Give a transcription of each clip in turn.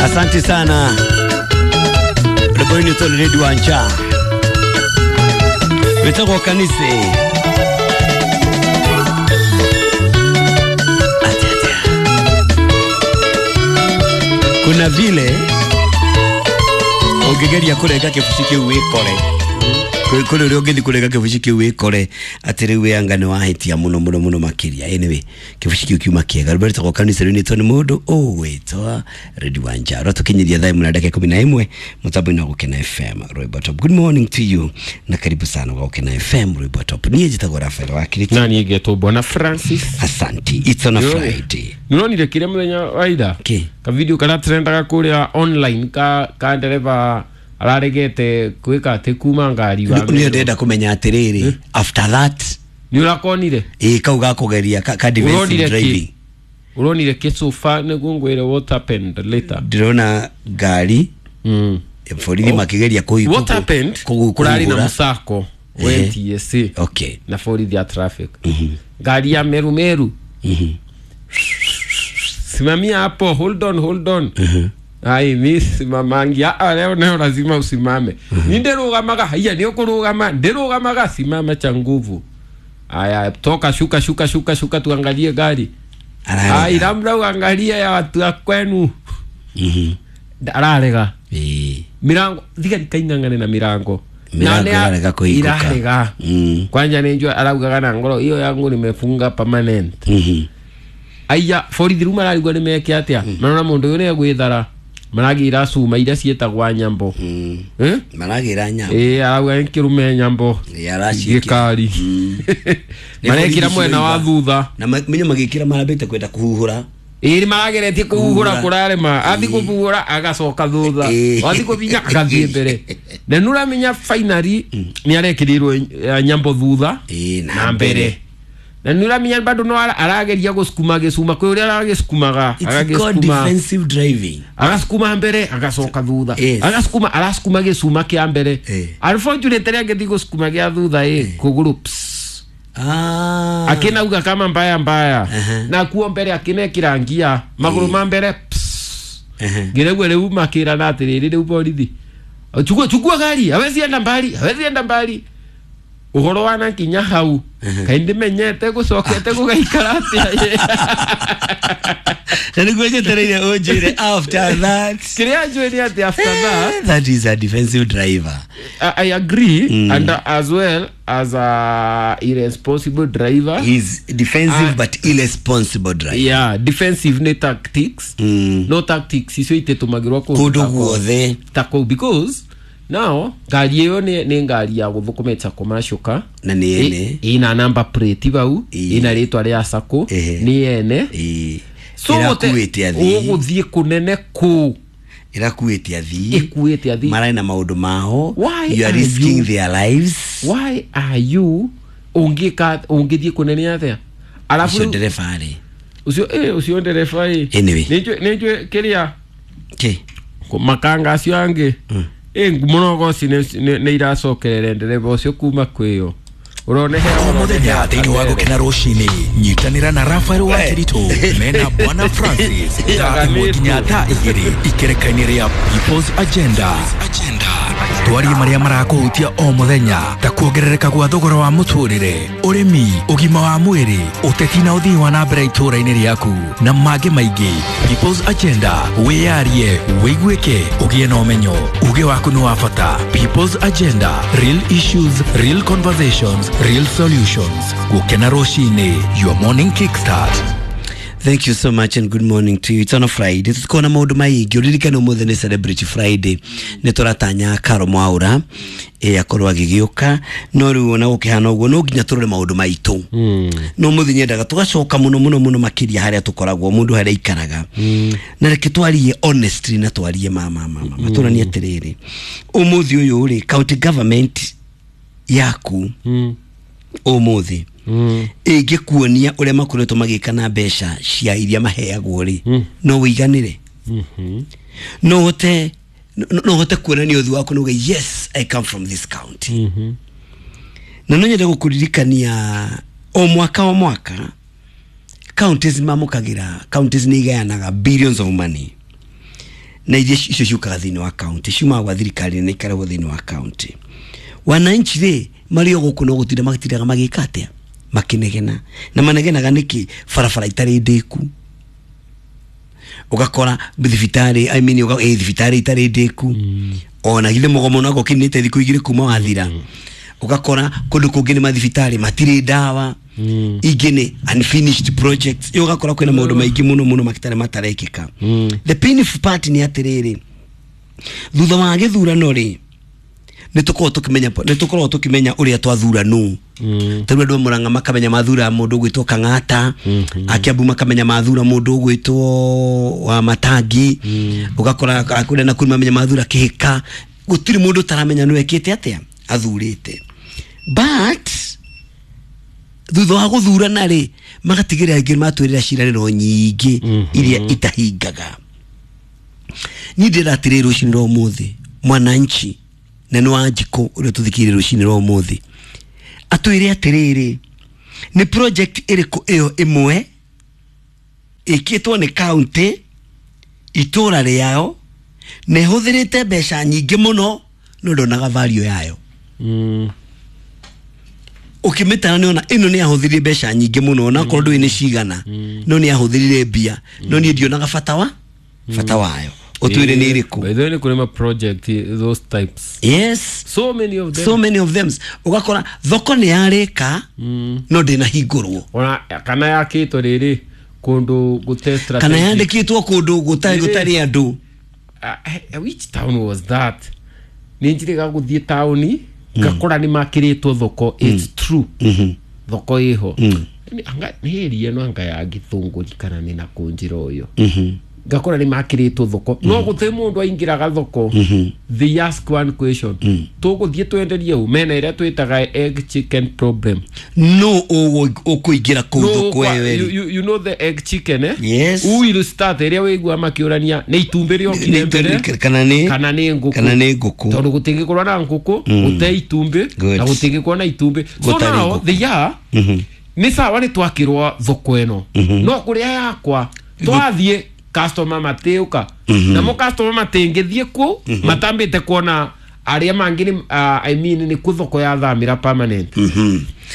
Asante sana rwimbo tå rä Wanja wĩtagwo kanitha. Kuna vile ũngĩgeria kũrenga kĩbuci kĩu wĩkore, kũrĩ ũrĩa ũngĩthiĩ kũrenga kĩbuci kĩu wĩkore atĩ rĩu wĩanga nĩ wahĩtia mũno mũno mũno makĩria. Anyway, kĩbuci kĩu kiuma kĩega. Rwĩmbo rwĩtagwo kanitha rũinĩtwo nĩ mũndũ ũgwĩtwo Redi Wanja. Rwatũkinyĩria thaa 1 na dakika 11 mũtambo-inĩ wa Gũkena FM Rwĩmbo Top. Good morning to you na karibu sana kwa Gũkena FM Rwĩmbo Top. Niĩ njĩtagwo Rafael Wakiriti. Na niĩ ngetwo Bwana Francis. Asante. It's on a Friday. Nĩũronire kĩrĩa mũthenya wa ira? Kĩ? Ka video karĩa trendaga kũrĩa online ka ndereba araregete kwĩka atĩ kuma ngari wa Nĩ ndĩrenda kũmenya atĩrĩrĩ, after that nĩ ũrakonire? Ĩ, kau gakũgeria ka defensive Ũronire kĩ? driving. Ũronire kĩ so far nĩguo ngwĩre what happened later? Ndĩrona ngari borithi makĩgeria What happened, kũrarĩ na mũcako wa NTSA na borithi ya traffic, ngari ya Meru Meru, simamia hapo, hold on, hold on. Ai, mi simamangi. Ah, leo leo lazima usimame. Ni ndirugamaga. Haiya, ni ukurugama, ndirugamaga. Simama cha nguvu. Aya, toka, shuka, shuka, shuka, shuka, tuangalie gari. Ai, labda uangalie ya watu wa kwenu. Ararega mirango thigari kaing'ang'ane na mirango. Mirango irarega kũhingũka. Irarega. Kwanja nĩ araugaga na ngoro iyo yangu nimefunga permanent. Aya, borithi rĩu mararigwo nĩ meke atĩa, marona mũndũ ũyũ nĩ egwĩthara, maragĩra cuma iria ciĩtagwa nyambo. Eh? Maragĩra nyambo. Ĩ, arauga nĩ kĩrume nyambo. Ĩ, araciĩkĩra. Gĩkari marekĩra mwena wa thutha. Na menye magĩkĩra marambĩte kwenda kũhuhũra. Ĩ, marageretie kũhuhũra, kũrarema, athi kũhuhũra agacoka thutha, athi kũbinya agathiĩ mbere, na nĩ ũramenya finally nĩ arekĩrĩirwo nyambo thutha Ĩ, na mbere, na nĩ ũramenya bado no arageria gũcukuma gĩcuma kwĩ ũrĩa aragĩcukumaga. It's called Agagĩcukuma defensive driving. Agasukuma mbere, agacoka thutha. Yes. Agasukuma, arasukuma gĩcuma kĩa mbere. Unfortunately angĩthiĩ gũcukuma gĩa thutha, ĩ kũgũrũ pss. Ah. Akinauga kama mbaya mbaya na kuo mbere akinekira ngia magũrũ ma mbere pss. Ngiregue rĩu makĩrana atĩrĩrĩ, rĩu borithi, chukua, chukua gari, hawezi enda mbali, hawezi enda mbali. Ũhoro wana kinya hau kaĩ ndĩmenyete gũcokete gũgaikara atĩa. Na nĩguo njetereire ũnjĩre after that. Kĩrĩa njũĩ nĩ atĩ after that, That is a defensive driver. I agree, and as well as a irresponsible driver. He's defensive but irresponsible driver. Yeah, defensive nĩ tactics. No tactics icio itetũmagĩrwo kũndũ guothe. Ta kũu, because now ngari ĩyo nĩ ngari ya gũthũkũmĩte commercial car. Na nĩ ene. Ĩna number plate bau, ĩna rĩtwa rĩa sacco, nĩ ene. So Ĩrakuĩte athii. Ũgũthiĩ kũnene kũ? Ĩrakuĩte athii. Ĩkuĩte athii. Mararĩ na maũndũ mao. Why You are are risking you- their lives. Why are you ũngĩka ũngĩthiĩ kũnene atĩa arabu? Ũcio ndereba rĩ? Ũcio ũcio ndereba ĩ. Anyway. Nĩnjũĩ kĩrĩa Kĩ? Makanga acio angĩ ĩ mũnogoci nĩ iracokerere ndereba ũcio kuma kwĩyo ũronehe. O mũthenya thĩinĩ wa Gũkena Rũcinĩ, nyitanĩra na Rafael wa Kĩritũ mena Bwana Francis thaa 1 nginya thaa 2 ikereka-inĩ rĩa People's Agenda. Twarie marĩa marakũhutia o mũthenya ta kuongerereka gwa thogora wa mũtũrĩre, ũrĩmi, ũgima wa mwĩrĩ, ũteti na ũthii wa na mbere itũũra-inĩ rĩaku na mangĩ maingĩ. People's Agenda, wĩyarie, wĩiguĩke, ũgĩe na ũmenyo. Uge waku nĩ wa bata. People's Agenda, real issues, real conversations, real solutions. Gũkena Rũcinĩ, your morning kickstart. Thank you so much and good morning to you. It's on a Friday. Tutikona maũndũ maingĩ. Ũririkane ũmũthĩ nĩ Celebrity Friday. Nĩ tũratanya Karo Mwaura akorwo agĩgĩũka, no rĩu ona gũkĩhana ũguo no nginya tũrore maũndũ maitũ. No mũthĩ nyendaga tũgacoka mũno mũno mũno makĩria harĩa tũkoragwo, mũndũ harĩa aikaraga. Na reke twarie honestly na twarie ma ma ma ma. Tũranie atĩrĩrĩ, ũmũthĩ ũyũ rĩ, county government yaku ũmũthĩ ĩngĩkuonia ũrĩa makoretwo magĩka na mbeca cia iria maheagwo rĩ, no wĩiganĩre? No ũhote kuonania ũthiũ waku na uge, "Yes, I come from this county"? Na no nyende gũkũririkania o mwaka o mwaka counties mamũkagĩra, counties nĩ igayanaga billions of money. Na iria icio ciũkaga thĩinĩ wa county, ciumaga gwa thirikari na ikarehwo thĩinĩ wa county. Wananchi rĩ marĩ o gũkũ no gũtinda matindaga magĩka atĩa, makinegena. Na manegenaga nĩkĩ? Barabara itarĩ ndĩku, ũgakora thibitarĩ, I mean, thibitarĩ itarĩ ndĩku, ona githĩ mũgomo naguo ũkinyĩte thikũ igĩrĩ kuma wathira. Ũgakora kũndũ kũngĩ nĩ mathibitarĩ matirĩ ndawa, ingĩ nĩ unfinished projects. Ĩyo ũgakora kwĩna maũndũ maingĩ mũno mũno matarĩ matarekĩka. The painful part nĩ atĩrĩrĩ, thutha wa gĩthurano rĩ, nĩ tũkoragwo tũkĩmenya ũrĩa twathura nũ. Ta rĩu andũ a Murang'a makamenya mathura mũndũ ũgwĩtwo Kang'ata, a Kiambu makamenya mathura mũndũ ũgwĩtwo wa Matangi, ũgakora kũrĩa na kũrĩ mamenya mathura Kĩhĩka. Gũtirĩ mũndũ ũtaramenya nĩ wekĩte atĩa athurĩte, but thutha wa gũthurana rĩ, magatigĩrĩra angĩ matwĩrĩra ciĩranĩro nyingĩ iria itahingaga. Niĩ ndĩrenda atĩrĩrĩ, rũcinĩ rwa ũmũthĩ mwananchi na nĩ wa njikũ ũrĩa tũthikĩrĩrie rũcinĩ rwa ũmũthĩ atwĩre atĩrĩrĩ, nĩ project ĩrĩkũ ĩyo ĩmwe ĩkĩtwo nĩ county itũra rĩao na ĩhũthĩrĩte mbeca nyingĩ mũno no ndonaga value yayo? Ũkĩmĩtara nĩ ona ĩno nĩ yahũthĩrire mbeca nyingĩ mũno, onakorwo ndũĩ nĩ cigana, no nĩ yahũthĩrire mbia, no niĩ ndionaga bata wayo. Ũtwĩre nĩ ĩrĩkũ. By the way, nĩ kũrĩ ma project those types. Yes. So many of them. So many of them. Ũgakora thoko nĩ yarĩka no ndĩnahingũrwo. Ona kana yakĩtwo rĩrĩ kũndũ gũte Kana strategic. yandĩkĩtwo kũndũ gũtarĩ gũtarĩ andũ. Which town was that? Nĩ njĩrĩga gũthiĩ taũni ngakora nĩ makĩrĩtwo thoko. It's true, thoko ĩho. Nĩ area ĩno anga ya Gĩthũngũri kana nĩ na kũnjĩra ũyũ, ngakora nĩ makĩrĩtwo thoko no gũtĩ mũndũ aingĩraga thoko. They ask one question: tũgũthiĩ twenderie ũ? Mena ĩrĩa twĩtaga egg chicken problem. No ũkũingĩra kũu No, thoko ĩyo you, ĩrĩ. you know the egg chicken, eh? Yes. Who will start? Ĩrĩa wĩigua makĩũrania nĩ itumbĩ rĩokire mbere kana nĩ kana nĩ ngũkũ? Kana nĩ ngũkũ. Tondũ gũtingĩkorwo na ngũkũ gũte itumbĩ Good. na gũtingĩkorwo na itumbĩ, so Gũtarĩ now ngũkũ. they are nĩ sawa nĩ twakĩrwo thoko ĩno, no kũrĩa yakwa twathiĩ customer matĩũka, namo customer matingĩthiĩ kũu matambĩte kuona arĩa mangĩ nĩ I mean, nĩ kũ thoko yathamĩra permanent.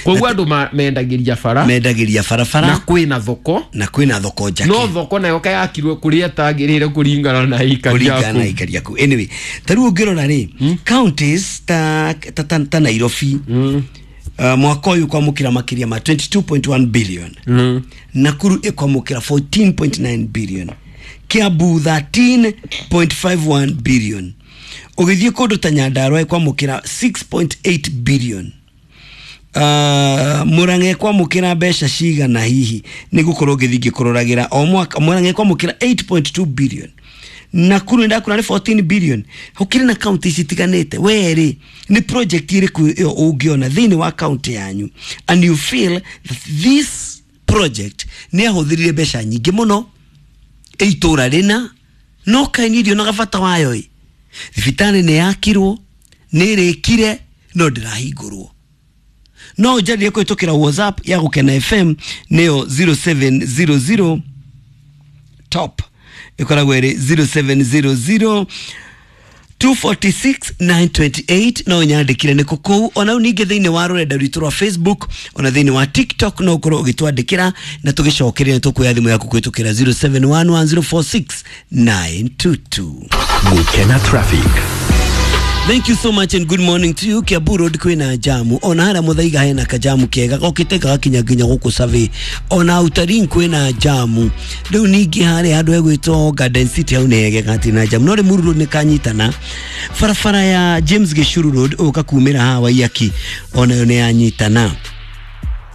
Koguo andũ mendagĩria bara. Mendagĩria barabara. Na kwĩna thoko. Na kwĩna thoko njake. No thoko nayo kayakirwo kũrĩa ĩtagĩrĩire kũringana na aikari Kũringana na aku. aikari aku. Anyway, ta rĩu ũngĩrora rĩ, counties ta Nairobi, mwaka ũyũ kwamũkĩra makĩria ma 22.1 billion, Nakuru ĩkwamũkĩra 14.9 billion, Kiambu 13.51 billion, ũgĩthiĩ kũndũ ta Nyandarua ĩkwamũkĩra 6.8 billion, Murang'a ĩkwamũkĩra mbeca cigana hihi nĩ gũkorwo ngĩthiĩ ngĩkũroragĩra o mwaka? Murang'a ĩkwamũkĩra 8.2 billion, Nakuru ndakura nĩ 14 billion. Gũkĩrĩ na kaunti citiganĩte. Werĩ nĩ project ĩrĩkũ ĩyo ũngĩona thĩinĩ wa kaunti yanyu and you feel that this project nĩ yahũthĩrire mbeca nyingĩ mũno ĩ itũra rĩna no kaĩ niĩ ndionaga bata wayo? Ĩ thibitarĩ nĩ yakirwo, nĩ ĩrĩkire, no ndĩrahingũrwo. No ũnjarĩrie kũhĩtũkĩra WhatsApp ya Gũkena FM, nĩyo 0700 top ĩkoragwo ĩrĩ 0700 246 928. No nyandĩkire nĩ kũu ona rĩu ningĩ thĩinĩ wa rũrenda rwitũ rwa Facebook, ona thĩinĩ wa TikTok no ũkorwo ũgĩtwandĩkĩra na tũgĩcokeria nĩ tũkuoya thimũ yaku kũhĩtũkĩra 0711046922. Gukena Traffic. Thank you so much and good morning to you. Kiambu Road kwina jamu. Ona haria Muthaiga hena kajamu kega gokite gagakinya nginya guku Survey. Ona Utarin kwina jamu. Riu ningi haria handu hegwitwo Garden City hau nĩ hegega hatirĩ na jamu. No Limuru Road nĩ kanyitana. Barabara ya James Gishuru Road ũka kumĩra haha Waiyaki onayo nĩ yanyitana.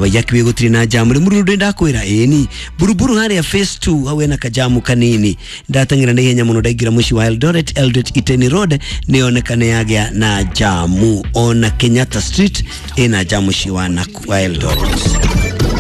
Waiyaki wĩ gũtirĩ na jamu. Limuru Road ndakwĩra ĩni Buruburu harĩa phase 2 hau hena kajamu kanini. Ndateng'era na ihenya mũno ndaingĩra mũciĩ wa Eldoret. Eldoret Iten Road nĩyoneka nĩ yagĩa na jamu. Ona Kenyatta Street ĩna jamu mũciĩ wa Eldoret.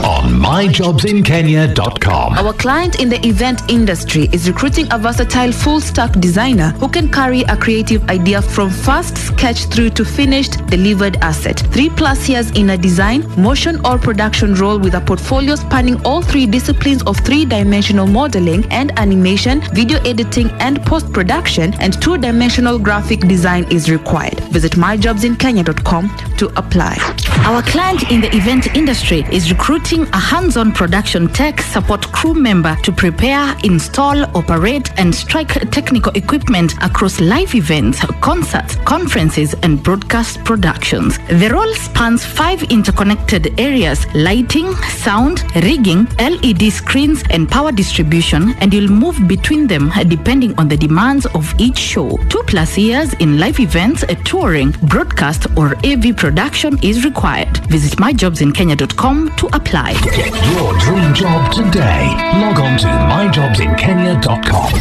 on myjobsinkenya.com. Our client in the event industry is recruiting a versatile full stack designer who can carry a creative idea from first sketch through to finished delivered asset. 3+ years in a design, motion, or production role with a portfolio spanning all three disciplines of three dimensional modeling and animation, video editing and post production, and two dimensional graphic design is required. Visit myjobsinkenya.com to apply. Our client in the event industry is recruiting a hands-on production tech support crew member to prepare, install, operate, and strike technical equipment across live events, concerts, conferences, and broadcast productions. The role spans 5 interconnected areas: lighting, sound, rigging, LED screens, and power distribution, and you'll move between them depending on the demands of each show. 2+ years in live events, touring, broadcast, or AV production is required. Visit myjobsinkenya.com to apply. Get your dream job today. Log on to myjobsinkenya.com.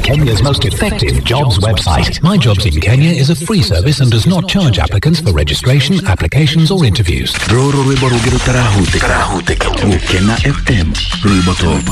Kenya's most effective jobs website. My Jobs in Kenya is a free service and does not charge applicants for registration, applications, or interviews. Rũrũ rwĩmbo rũngĩ rũtarahutĩka Gũkena FM rwĩmbo top.